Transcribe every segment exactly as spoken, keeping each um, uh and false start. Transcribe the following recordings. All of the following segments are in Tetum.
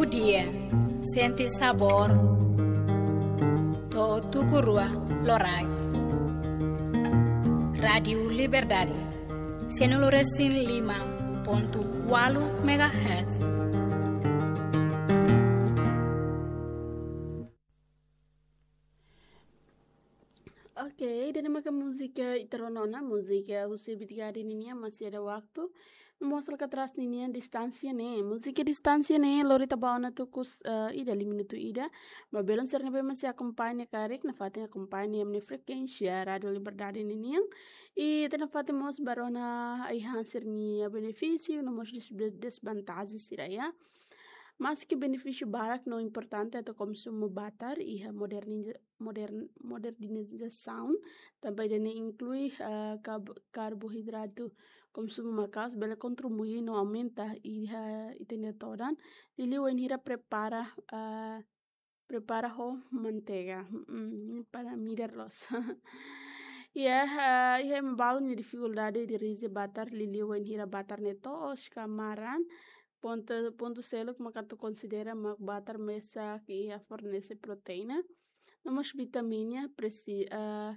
Dia, sente sabór. To'o tuku rua loraik. Rádiu Liberdade, sianulu resin lima pontu ualu megahertz. Oke, ida-ne'e maka múzika ita rona ona, múzika husi Bitgade ninian, Masih Ada Waktu. No mós la kaer atrás ninian, Distánsia ne'e. Múzika Distánsia ne'e, lori ita ba ona tuku, eh, ida, lima minutu ida. Ba belun sira ne'ebé masih akompaña karik, nafatin akompaña iha ne'e frekuénsia Rádiu Liberdade ninian. I ita nafatin mós ba rona ai-han sira-nia benefísiu, no mós des-, desvantajen sira, ya. Maski benefísiu barak no importante atu konsumu batar iha moderniza-, modern-, modernizasaun, tanba ida-ne'e inklui, ah, karbo-, karboidratu konsumu maka'as bele kontribui no aumenta iha ita-nia todan. Liuliu wainhira prepara, ah, prepara ho manteiga, mm, para midar loos. Ya, ah, iha ema balu nia difikuldade dirije batar liuliu wainhira batar ne'e toos ka maran. Pontu, pontu seluk maka atu konsidera mak batar mesak iha fornese proteína, no mós vitamina presi-, ah,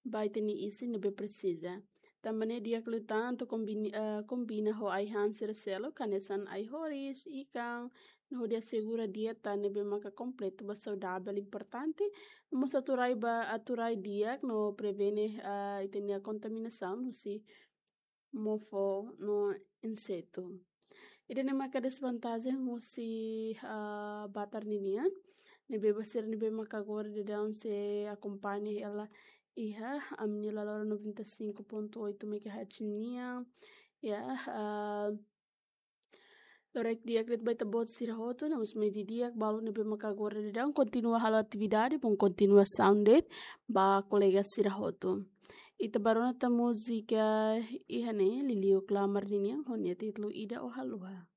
ba ita-nia isin ne'ebé presiza. Tanba ne'e di'ak liután atu kombini-, ah, kombina ho ai-han sira seluk, hanesan ai-horis, ikan, no hodi asegura dieta ne'ebé maka kompletu ba saudavel importante, no mós atu rai ba, atu rai di'ak no prevene, ah, ita-nia kontaminasaun husi mofo no insetu. Ida-ne'e maka desvantajen husi, ah, batar ninian. Ne'ebé ba sira ne'ebé maka agora daudaun sei akompaña hela iha ami-nia laloran noventa e cinco ponto oito megahertz nian. Ya, ah, loraik di'ak de'it ba ita-boot sira hotu, no mós mai didi'ak balu ne'ebé maka agora daudaun kontinua halo atividade, bom kontinuasaun de'it ba kolega sira hotu. Ita ba rona tan múzika iha ne'e, liuliu Klamar ninian, ho nia títulu Ida ou Haluha.